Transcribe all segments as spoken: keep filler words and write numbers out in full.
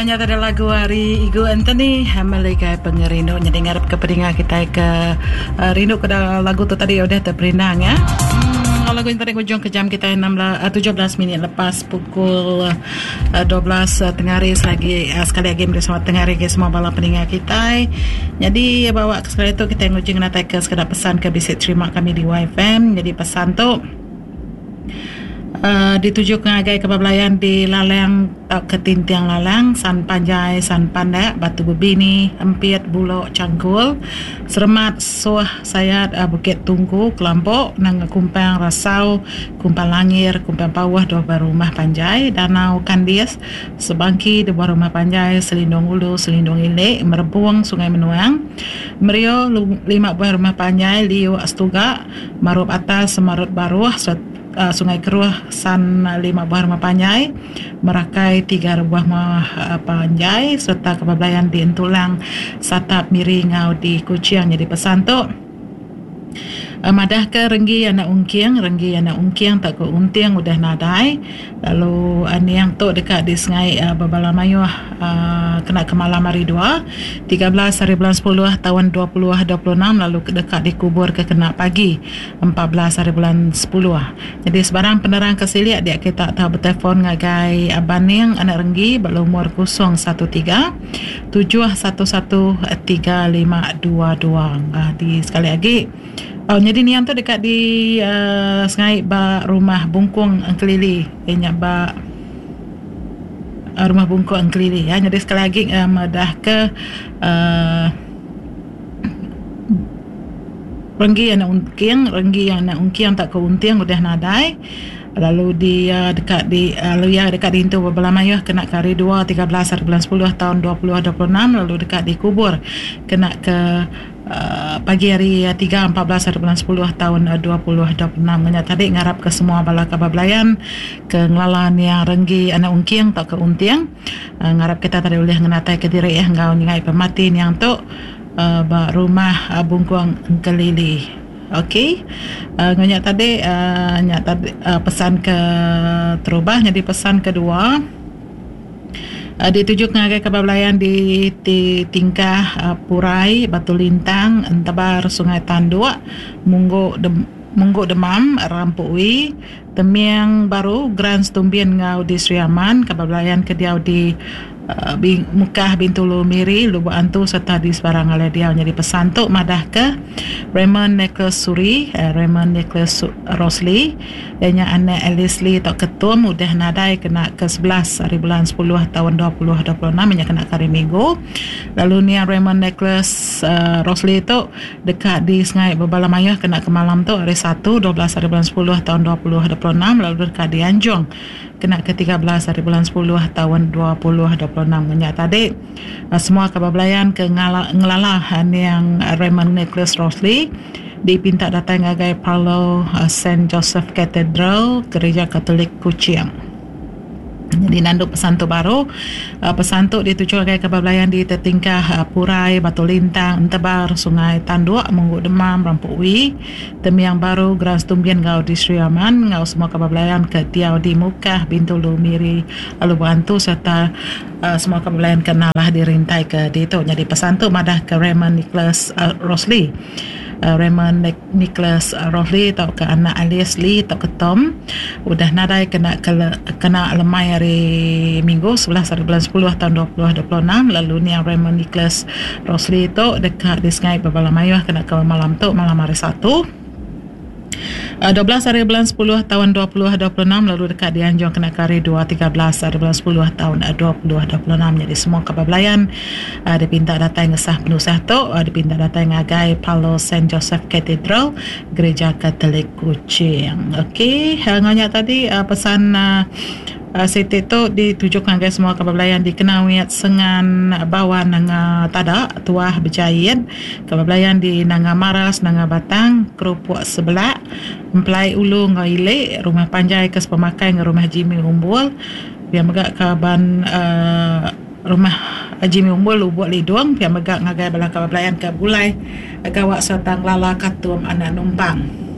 Nanya tadi lagu ari Igu Anthony Meligai Pengerindu. Jadi ngarap ke peninga kita ke uh, rindu ke lagu tu tadi udah terperindang ya. Hmm, lagu yang tadi ujung ke jam kita enam belas, tujuh belas minit lepas pukul uh, dua belas uh, tengah hari lagi uh, sekali lagi bersama tengah hari ke semua bala peninga kita. Jadi bawa ke sekali tu kita ngujung natai ke sekadar pesan ke bisa terima kami di Y F M. Jadi pesan tu Uh, ditujukan ngagai kebablayan di Lalang uh, Ketintiang Lalang, San Panjai, San Pandak, Batu Bebini, Empiet, Bulok, Cangkul, Seremat, Suah, Sayat, uh, Bukit Tungku, Kelampok, Nanga Kumpang, Rasau, Kumpang Langir, Kumpang Pawah, dua buah rumah panjai, Danau Kandis, Sebangki, dua buah rumah panjai, Selindung Ulu, Selindung Ilik, Merebung, Sungai Menuang, Merio, lima buah rumah panjai, Liu Astuga, Marup Atas, Semarut Baruh, Uh, Sungai Keruh, San lima buah rumah panjai, Merakai tiga buah rumah uh, panjai, serta kebablayan di Entulang, Satap, Miri, Ngau di Kuching. Jadi pesan tu uh, madah ke Renggi anak Ungking, Renggi anak Ungking tak ke Unting udah nadai. Lalu uh, niang tu dekat di Sungai uh, Bebala Mayuh uh, kena ke malam hari dua, tiga belas hari bulan sepuluh tahun dua ribu dua puluh enam, lalu dekat dikubur ke kena pagi empat belas hari bulan sepuluh. Jadi sebarang penerang kesiliak dia kita tahu bertelefon ngagai Abaning anak Renggi berumur kosong satu tiga tujuh satu satu tiga lima dua dua. Ah, di sekali lagi. Oh, jadi niang tu dekat di uh, Sungai ba rumah Bungkung Engkelili. Inya ba uh, rumah Bungkung Engkelili ya. Jadi sekali lagi uh, madah ke uh, Renggi anak Ungking, Renggi anak Ungking tak ke Unting udah nadai. Lalu dia dekat di lalu ya dekat di Intu Bebala Mayuh kena ke hari dua tiga belas hari bulan sepuluh tahun dua ribu dua puluh enam, lalu dekat dikubur kena ke Uh, pagi hari tiga empat belas hari bulan sepuluh tahun dua ribu dua puluh enam. Ngenya tadi ngarap ke semua bala kabablayan ke ngelalan yang Renggi anak Ungking tak ke Unting. Uh, ngarap kita tadi boleh ngenatai ke diri ya ngau nyengai pemati yang tu uh, ba rumah uh, Bungkuang Engkelili. Okey. Uh, ngenya tadi uh, nya tadi uh, pesan ke terubah. Jadi pesan kedua Uh, ditujukan ngagai kebablayan di, di Tingkah uh, Purai, Batu Lintang, Entebar, Sungai Tanduk, Munggu Dem, Munggu Demam, Rampui, Temiang Baru, Grand Stumbin ngau di Sri Aman, kebablayan ke diau di uh, Bing, Mukah, Bintulu, Miri, Lubuk Antu serta di sebarang alai diau. Jadi pesan tu madah ke Raymond Nicholas Suri, uh, Raymond Nicholas Rosli, dan anak Alice Lee tok ketum udah nadai kena ke sebelas hari bulan sepuluh tahun dua ribu dua puluh enam, nya kena hari Minggu. Lalu ni Raymond Nicholas uh, Rosli tu dekat di Sungai Bebala Mayuh kena ke malam tu hari satu dua belas hari bulan sepuluh tahun dua ribu dua puluh enam, lalu dekat di Anjung kena ke tiga belas hari bulan sepuluh tahun dua ribu dua puluh enam. Nya tadi uh, semua kabar belayan ke ngala, ngelala yang Raymond Nicholas Rosli dipinta datang ngagai Parlo uh, Saint Joseph Cathedral Gereja Katolik Kuching. Jadi nanduk pesan tu baru uh, pesan tu dituju ngagai kebablayan di Tetingkah uh, Purai, Batu Lintang, Entebar, Sungai Tanduk, Munggu Demam, Rampui, Temiang Baru, Grand Stumbian ngau di Sri Aman, ngau semua kebablayan ke Tiau di Mukah, Bintulu, Miri, lalu Bantu serta uh, semua kebablayan kenalah dirintai ke ditu. Jadi pesan tu madah ke Raymond Nicholas uh, Rosli. Uh, Raymond Nicholas Rosli atau ke anak Alice Lee atau ke Tom udah nadai kena ke, kena lemai hari Minggu sebelas hari bulan sepuluh tahun dua ribu dua puluh enam. Lalu ni yang Raymond Nicholas Rosli tu dekat di Sungai Bebala Mayuh kena ke malam tu malam hari Satu dua belas hari bulan sepuluh tahun dua ribu dua puluh enam, lalu dekat di Anjung kena ke hari dua tiga belas hari bulan sepuluh tahun dua ribu dua puluh enam. Jadi semua kebablayan uh, dipinta datang ngesah penusah tu uh, dipinta datang ngagai Palo Saint Joseph Cathedral Gereja Katolik Kuching. Okey, uh, ngonya tadi uh, pesan uh, Uh, Siti tu ditujukan ke semua kebablayan di Kenawit, Sengan, Bawan, Nanga Tada, Tuah, Berjayat, kebablayan di Nanga Maras, Nanga Batang, Kerupuk Sebelak, Empelai Ulu Ngau Ilik, Rumah Panjai ke Sepemakai dengan Rumah Jimmy Umbul, biar megak kaban uh, Rumah Jimmy Umbul Lubuk Lidung, biar megak ngagai bala kebablayan ke Bulai, Gawak serta Lala Katum Anak Numpang.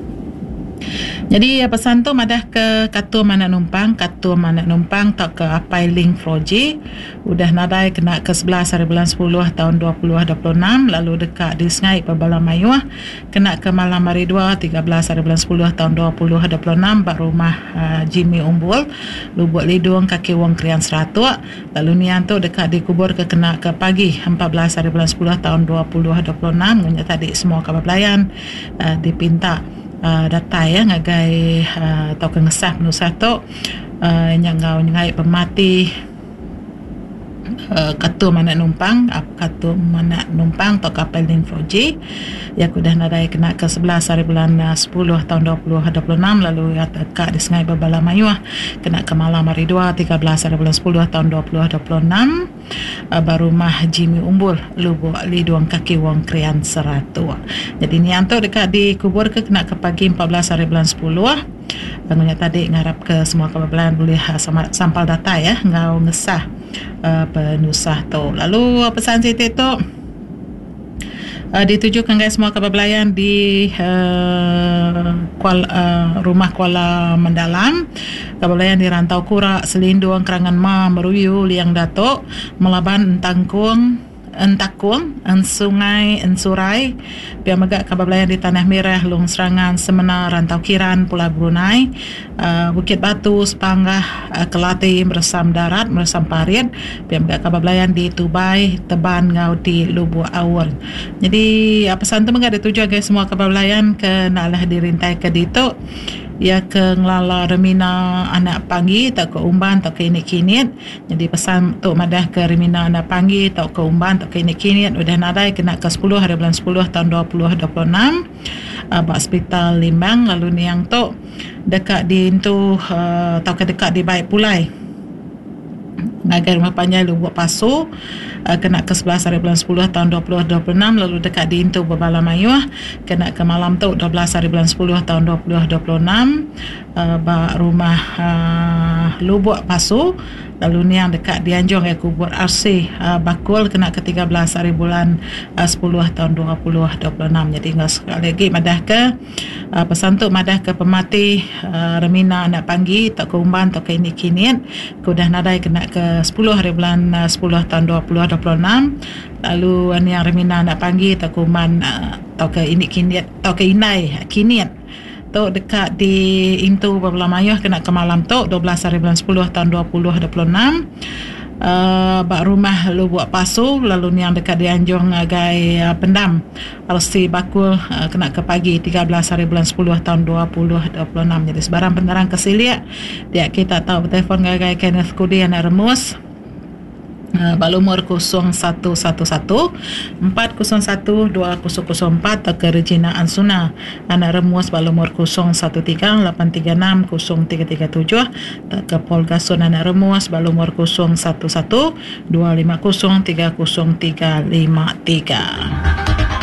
Jadi pesan tu madah ke katum anak numpang, katum anak numpang tak ke apai link Froji udah nadai kena ke sebelas hari bulan sepuluh tahun dua ribu dua puluh enam lalu dekat di Sengai Pebala Mayuh kena ke malam hari dua tiga belas hari bulan sepuluh tahun dua ribu dua puluh enam ba rumah uh, Jimmy Umbul Lubuk Lidung Kaki Wong Krian Seratuk lalu nian tu dekat dikubur ke kena ke pagi empat belas hari bulan sepuluh tahun dua ribu dua puluh enam ngunya tadi semua kabar belayan uh, dipinta Uh, datai ya ngagai uh, atau ke ngesah penusah tu uh, yang ngau nyengai pemati uh, katum anak numpang katum anak numpang atau kapal Linfoji ya udah nadai kena ke sebelas hari bulan sepuluh tahun dua ribu dua puluh enam lalu ya tekak di Sungai Bebala Mayuh kena ke malam hari dua tiga belas hari bulan sepuluh tahun dua ribu dua puluh enam uh, barumah Jimmy Umbul Lubuk Lidung Kaki Wong Krian Seratuk. Jadi ni antuk dekat dikubur ke kena ke pagi empat belas hari bulan sepuluh. Bangunnya tadi ngarap ke semua kabar boleh sama sampal data ya ngau ngesah uh, penusah tu. Lalu pesan Siti tu uh, ditujukan guys semua kabar belayan di uh, Kuala, uh, rumah Kuala Mendalam, kabar belayan di Rantau Kurak, Selindung, Kerangan Ma, Meruyu, Liang Datuk, Melaban, Entangkung, Entakung, Ensungai, Ensurai, pihak megak kabar belayan di Tanah Merah, Long Serangan, Semena, Rantau Kiran, Pulau Brunei, uh, Bukit Batu, Sepanggah, uh, Kelati, Meresam Darat, Meresam Parit, pihak megak kabar belayan di Tubai, Teban, Ngau di Lubuk Awur. Jadi pesan tu megak dituju agai semua kabar belayan ke naklah dirintai ke ditu. Ya ke ngelala Remina anak panggi tak ke umban tak ke ini kinit. Jadi pesan tu madah ke Remina anak panggi tak ke umban tak ke ini kinit udah nadai kena ke sepuluh hari bulan sepuluh tahun dua ribu dua puluh enam uh, bak hospital Limbang lalu niang tu dekat di itu uh, atau ke dekat di Baik Pulai ngagai rumah panjai Lubuk Pasu uh, kena ke sebelas hari bulan sepuluh tahun dua ribu dua puluh enam lalu dekat di Intu Bebala Mayuh kena ke malam tu dua belas hari bulan sepuluh tahun dua ribu dua puluh enam uh, ba rumah uh, Lubuk Pasu lalu niang dekat di Anjung ya kubur R C uh, Bakul kena ke tiga belas hari bulan uh, sepuluh tahun dua ribu dua puluh enam. Jadi enggak sekali lagi madah ke uh, pesan tu madah ke pemati uh, Remina anak panggi tak ke umban tak ke ini kinit ke udah nadai kena ke sepuluh hari bulan uh, sepuluh tahun dua ribu dua puluh enam lalu uh, niang Remina anak panggi tak ke umban uh, atau ke ini kinit atau ke inai kinit tu dekat di Intu Bebela Mayuh kena ke malam tu dua belas hari bulan sepuluh tahun dua ribu dua puluh enam uh, bak rumah Lubuk Pasu lalu niang dekat di Anjung ngagai uh, Pendam R C Bakul uh, kena ke pagi tiga belas hari bulan sepuluh tahun dua ribu dua puluh enam. Jadi sebarang penerang kesiliak dia kita tahu bertelefon ngagai Kenneth Kudi anak Remus Uh, balumur kosong satu satu satu empat kosong satu dua kosong kosong empat atau ke Regina Ansuna anak Remus balumur kosong satu tiga lapan tiga enam kosong tiga tiga tujuh atau ke Paul Gason anak Remus balumur kosong satu satu dua lima kosong tiga kosong tiga lima tiga.